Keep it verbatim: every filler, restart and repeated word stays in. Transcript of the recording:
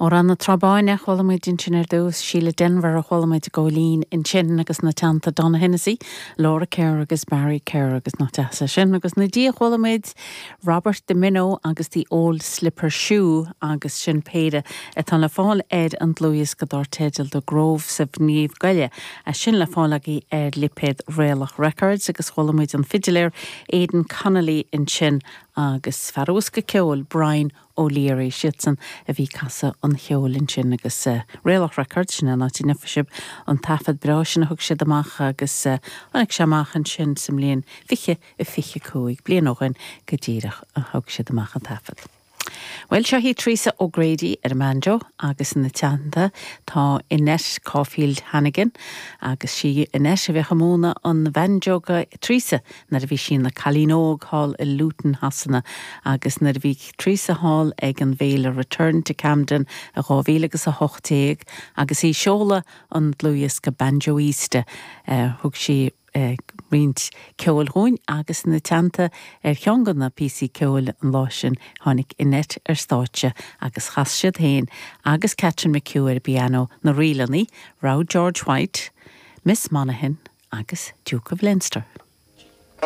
Amhrán na Trá Báine chuala muid ansin ar dtús Síle Denvir a chuala muid góilín ansin agus ina teannta Donogh Hennessy, Laura Kerr agus Barry Kerr agus nach deas sin agus ina dhiaidh chuala muid Robert DiMino agus the Old Slipper Shoe agus sin péire atá le fáil ar an dlúthdhiosca dar teideal The Groves of Naomh Goille a sin le fáil agaibh ar lipéad Réalach Records agus chuala muid an fidiléir Aidan Connolly ansin agus fear bosca ceoil Brian O'Leary siadsan a bhí ag casadh an cheoil ansin agus uh, Réalach Records sin an áit a bhfuair sibh an taifead breá sin a thug siad amach agus uh, tháinig sé amach ansin sa mbliain fiche a fiche cúig bliain ó shin go díreach a thug siad amach an taifead. Well seo í Teresa O'Grady ar an mbanjo agus ina teannta tá Annette Caulfield Hannigan agus sí Annette a bhí ag múineadh an bhanjo do Teresa nuair a bhí sí ina cailín óg thall i Luton Shasana agus nuair a bhí Teresa thall ag an bhféile Return to Camden a dhá mhíle agus a hocht déag agus í ag seoladh an dlúthdhiosca Banjoista uh, thug sí uh, roinnt ceoil dúinn agus ina teannta ar cheann de na píosaí ceoil an lá sin tháinig Annette ar stáitse agus chas siad féin agus Catherine McHugh ar piano na ríleanna Row George White, Miss Monaghan agus Duke of Leinster.